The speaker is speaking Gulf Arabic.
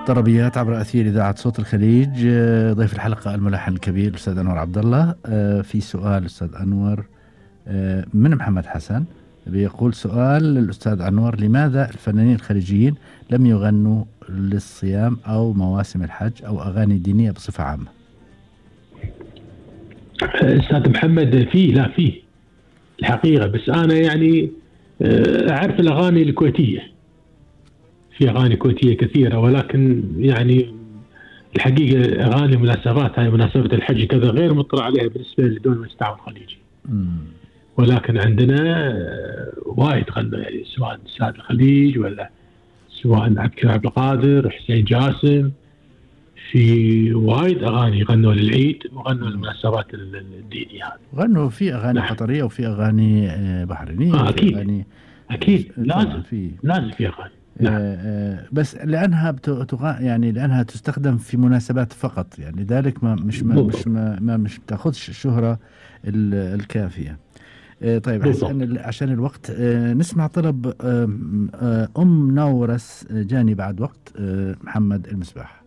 طربيات عبر أثير إذاعة صوت الخليج. ضيف الحلقة الملحن الكبير الأستاذ أنور عبد الله. في سؤال أستاذ أنور من محمد حسن، بيقول سؤال للأستاذ أنور: لماذا الفنانين الخليجيين لم يغنوا للصيام أو مواسم الحج أو أغاني دينية بصفة عامة؟ أستاذ محمد، فيه الحقيقة، بس أنا يعني أعرف الأغاني الكويتية، في أغاني كويتية كثيرة، ولكن يعني الحقيقة أغاني مناسبات، هاي مناسبة الحج كذا غير مطلع عليها بالنسبة لدول المجتمع الخليجي. ولكن عندنا وايد غنوا، يعني سواء سعد الخليج ولا سواء عبد القادر، حسين جاسم، في وايد أغاني غنوا للعيد وغنوا للمناسبات الدينية هذه. غنوا في أغاني قطرية وفي أغاني بحرينية. أكيد لازم في أغاني. بس لأنها يعني لأنها تستخدم في مناسبات فقط، يعني ذلك مش بتاخذش الشهرة الكافية. طيب عشان الوقت نسمع طلب نورس جاني بعد وقت محمد المصباح.